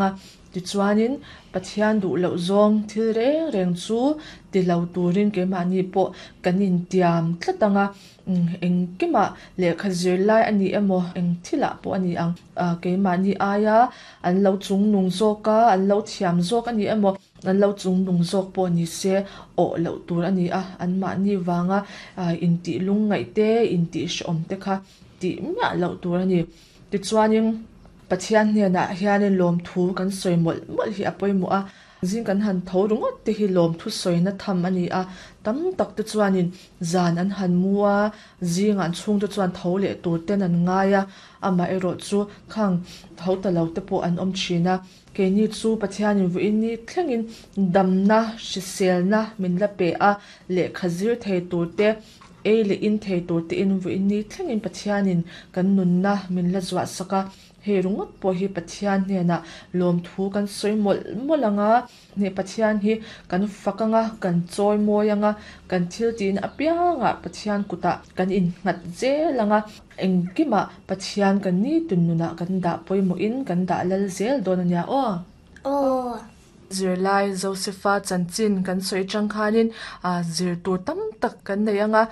A, tichuanin Pathian duh loh zawng thil reng reng chu ti lo turin keimahni pawh kan intiam tlat ang a, engkimah lehkha zir lai a ni emaw eng thilah pawh a ni ang, keimahni aia an lo chungnung zawk a, an lo thiam zawk a ni emaw an lo chungnung zawk pawh ni se awh loh tur a ni a, anmahni vanga intih lungngaih te, intih hrehawm te kha tih miah loh tur a ni. Tichuanin Pathian hnenah hianin lawmthu kan sawi mawlh mawlh hi a pawimawh a, zing kan han tho ringawt te hi lawmthu sawina tham a ni a, tam tak te chuanin zan an han mu a, zingah an chhungte chuan tho leh tur ten an ngai a, amaherawh chu khang tho ta lo te pawh an awm thin a, keini chu Pathianin vawiin ni thlengin damna, hriselna min la pe a, lehkha zir thei tur te, Ei leh in thei tur tein vawiin ni thlengin Pathianin kan nunna min la zuah sak a, hei ringawt pawh hi Pathian hnenah lawmthu kan sawi mawlh mawlh ang a, hneh Pathian hi kan fak ang a, kan chawi mawi ang a, kan thil tihna apiangah Pathian kutah kan innghat zel ang a, engkimah Pathian kan nitin nunah kan dah pawimawhin kan dah lal zel dawn a nia aw. Aw. Zirlai Josefa chanchin kan sawi atang khanin zir tur tam tak kan nei ang a,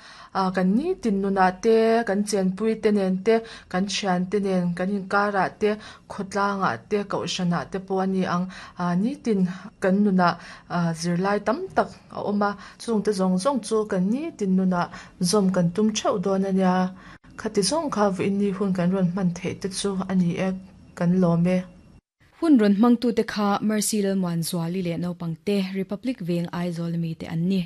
kan nitin nunah te, kan chenpui te nen te, kan thiante nen kan inkarah te, khawtlangah te, kohhranah te pawh a ni ang. Nitin kan nunah zirlai tam tak a awm a, chungte zawng zawng chu kan nitin nunah zawm kan tum theuh dawn a nia. Khati zawng kha vawiin hun kan rawn hman theih te chu a ni e, kan lawm e. Hun rawn hmangtute kha Mercy Lalmuanzuali leh naupangte Republic Veng Aizawl mite an ni.